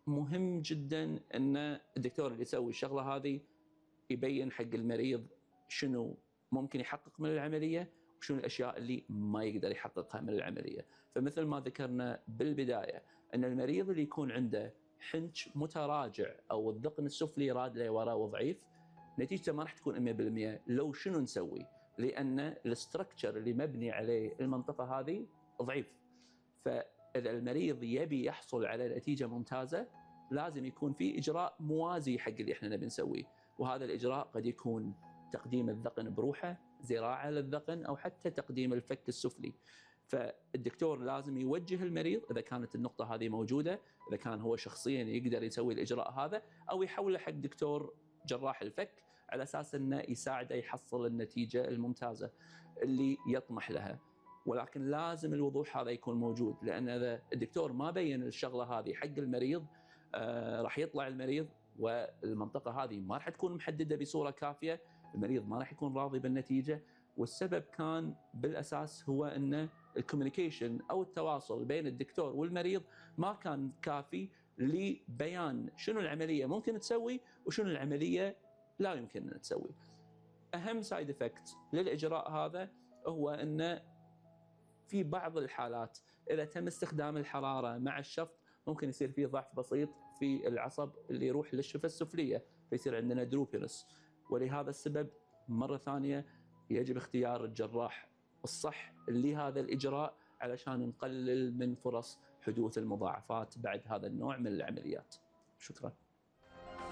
مهم جدا ان الدكتور اللي يسوي الشغله هذه يبين حق المريض شنو ممكن يحقق من العمليه وشنو الاشياء اللي ما يقدر يحققها من العمليه. فمثل ما ذكرنا بالبدايه ان المريض اللي يكون عنده حنج متراجع او الذقن السفلي راد لورا وضعيف، نتيجته ما راح تكون 100% لو شنو نسوي، لان الاستراكشر اللي مبني عليه المنطقه هذه ضعيف. فاذا المريض يبي يحصل على نتيجه ممتازه لازم يكون في اجراء موازي حق اللي احنا نبي نسويه، وهذا الاجراء قد يكون تقديم الذقن بروحه، زراعه للذقن، او حتى تقديم الفك السفلي. فالدكتور لازم يوجه المريض اذا كانت النقطه هذه موجوده، اذا كان هو شخصيا يقدر يسوي الاجراء هذا، او يحوله حق دكتور جراح الفك على اساس انه يساعده يحصل النتيجه الممتازه اللي يطمح لها. ولكن لازم الوضوح هذا يكون موجود، لان اذا الدكتور ما بين الشغله هذه حق المريض راح يطلع المريض والمنطقه هذه ما راح تكون محدده بصوره كافيه، المريض ما راح يكون راضي بالنتيجه. والسبب كان بالاساس هو ان الكوميونيكيشن او التواصل بين الدكتور والمريض ما كان كافي لبيان شنو العمليه ممكن تسوي وشنو العمليه لا يمكن ان تسوي. اهم سايد افكت للاجراء هذا هو ان في بعض الحالات اذا تم استخدام الحراره مع الشفط ممكن يصير فيه ضعف بسيط في العصب اللي يروح للشفه السفليه، فيصير عندنا دروبينس. ولهذا السبب مره ثانيه يجب اختيار الجراح الصح لهذا الاجراء علشان نقلل من فرص حدوث المضاعفات بعد هذا النوع من العمليات. شكرا.